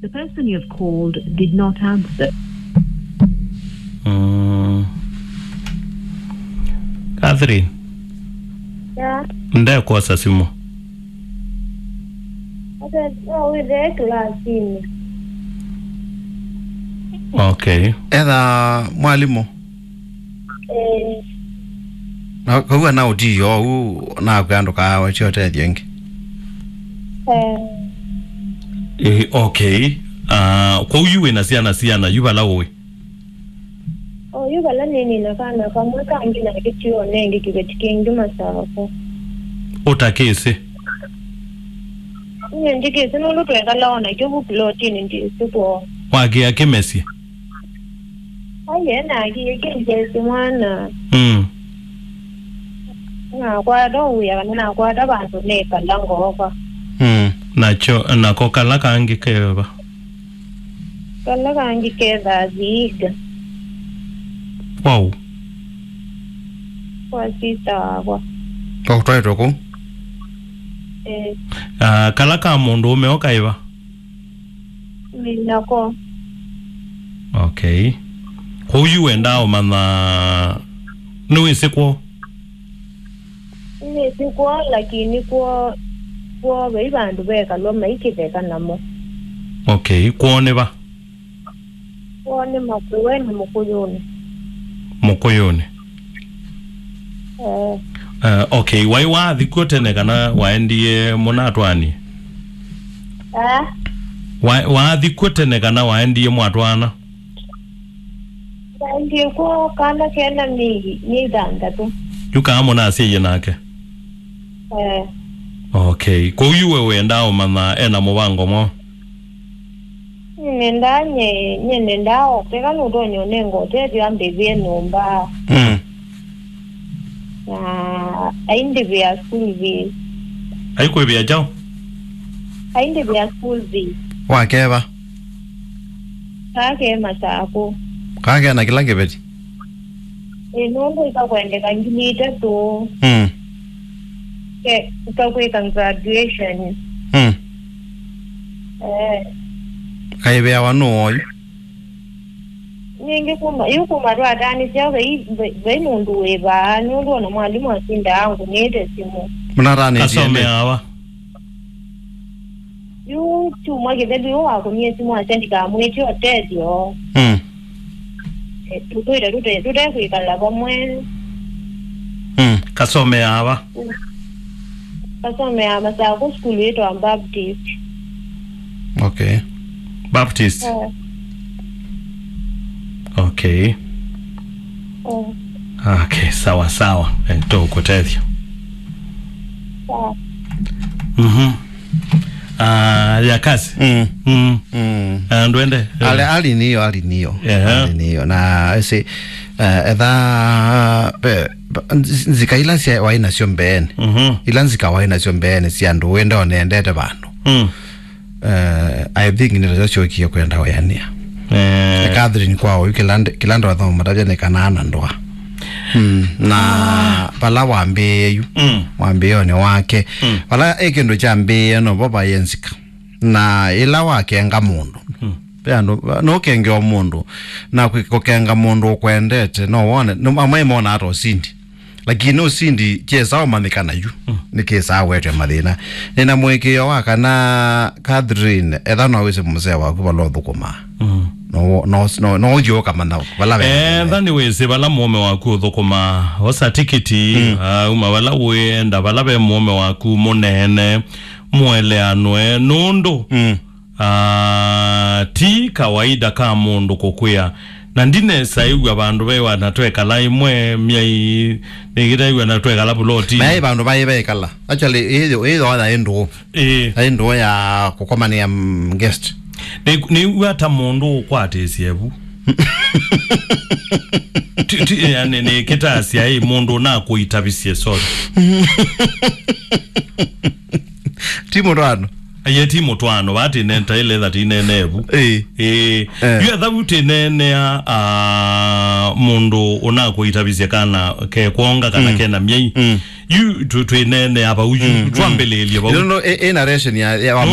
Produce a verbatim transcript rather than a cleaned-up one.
The person you have called did not answer. Mm. Catherine, yeah. Ndekwosa simu. Ate, no wĩthĩe kĩlasinĩ. Okay. Etha mwalimũ. Eh. Na kau ana ũtiio ũu nakwĩa ndũkawetye ũtethyo ĩngĩ. Eh. Eh, okay. Ah, kwoou yu wĩna syana siana yu vala ũĩ? O yu vala nĩnĩ na kana kamwe kangĩ na kĩtio nengĩ kĩveti kĩngĩ masako. Ũtakĩsĩ? Nyie ndikĩsĩ nũndũ twekala o nakyo vu plotinĩ ndĩsĩ kwoo. Wakĩa kĩmesye? Aiye, nakĩkĩnjesi mwana. Mm. Nakwata ũwĩa kana nakwata vandũ nekala ngooka. Mm. Nakyo, nako kala kangĩ keva? Kala kangĩ kethaa Vihiga. Wow. Kwa sister wakwa. Kwa kũtwaĩtwe kũu? Eh. Ah, kala ka mũndũ ũme o kaĩva? Nĩ nako. Okay. Kwoou yu wendaa ũmanya nĩwĩsĩ kwoo? Nĩsĩ kwoo, lakini kwoo, kwoo vai vandũ vekalwa maikĩtheka namo. Okay, kwoo nĩ va? Kwoo nĩ Makueni, Mũkũyũnĩ. Mũkũyũnĩ. Eh. Eh, okay, waĩ waathi kw'o tene kana waendie mũnatwaanie? Eh? Wa-, waathi kw'o tene kana waendie mwatwaana? Naendie kwoo kana kena mĩi, mĩi thanthatũ. Yu kaa mũnasyaie nake? Eh. Okay, kwoou yu we wendaa ũmanya ena mũvango mwaũ? Nendaa nye, nye nendaa oke kana ũtonya ũnenga ũtethyo ambĩvĩe nyũmba. Mm. Na aindĩvĩa school fees. Aikwĩvĩa kyaũ? Aindĩvĩa school fees. Wakeva? Kake masako. Kake na kĩla kĩveti? Ĩ, nũndũ ikakwendeka ngili itatũ. Mm. Ke, ikakwĩka graduation. Mm. Eh. Kaĩvĩawa nũũ oyu? Ningĩ kuma, yu kuma twatanĩsya vai, vai, vai mũndũ wĩ vaa, nũndũ ona mwalimũ asindaa angũnĩte simũ. Mũnatanĩtie nĩ? Kasomeawa. Yu kyumwa kĩthelu yu wakũnie simũ asya ndikamwĩtye ũtethyo. Mm. Eh, tũtwĩte tũte, tũtekwĩkala vamwe. Mm. Kasomeawa. Kasomeaa Masakũ sukulu yĩtawa Baptist. Okay. Baptist. Eh. Okay. Eh. Okay, sawa sawa. Eh, tũkũtethya. Sawa. Mhm. Ah, ya kazi. Mm. Mm. Mm. Ah, ndwende. Ali, ali niyo, ali niyo. Yeah. Ali niyo. Na ese, eh, etha, eh, nzika ila sya waĩ nasyo mbeeni. Mhm. Ila nzika waĩ nasyo mbeeni sya andũ wenda onendete vandu. Mm. Eh, I think nĩ tasyo syokie kwenda ũyanĩa. Eh. Catherine kwa ũyu kĩla nd-, kĩla ndo athoma matavya nĩ kana ana ndoa. Mm. Na vala wambĩĩe yu, mm, wambĩĩonĩ wake, mm, vala ĩ kĩndũ kyambĩĩe novo vaĩ nzika. Na ĩla wakenga mũndũ, mm, ve andũ, nũkengewa mũndũ, na kwĩ-, kũkenga mũndũ ũkwendete, no wone, no, amwe monaa ta ũsindi. Lakini ũsindi kyesa ũmanyĩkana yu, mm, nĩkĩsaa wetwe mathĩna. Nĩna mũĩkĩĩo wa kana Catherine, etha no wĩsĩ mũsee waku vala ũthũkũmaa. Mm. No, no, no, no ũthiĩ ũkamanya vala ve mathĩna. Etha nĩwĩsĩ vala mũũme waku ũthũkũmaa, osa tikiti, mm, ah, uma vala ũenda, vala ve mũũme waku mũneene, mũeleanwe, nũndũ, mm, ah, ti kawaida ka mũndũ kũkwĩa. Na ndinesa ĩw'a vandũ ve wana twekala ĩmwe myai, nĩkĩta ĩw'a na twekala puloti. Maĩ vandũ vaĩ vaikala. Actually, ĩyo, ĩyo yaĩ ndũũ. Ĩĩ. Yaĩ ndũũ ya kũkomanĩa, mm, guest. Nĩ, nĩw'a ta mũndũ ũkwatĩsye vu. Ti, ti, yani, nĩkĩtasya ĩ mũndũ nakũitavisye, sorry. Ti mũtwaano. Aye ti mũtwaano, vaa tinenta ile tha tinene vu. Ĩĩ. Ĩĩ. Eh. Yu etha vu tinenea, ah, mũndũ ũnakũitavisye kana kekwonga kana, mm, kena myei. Mm. Yu tu-, twinenea vau yu, mm, twambĩlĩĩlye vau. No, no, ĩ, ĩ narration ya, ya wa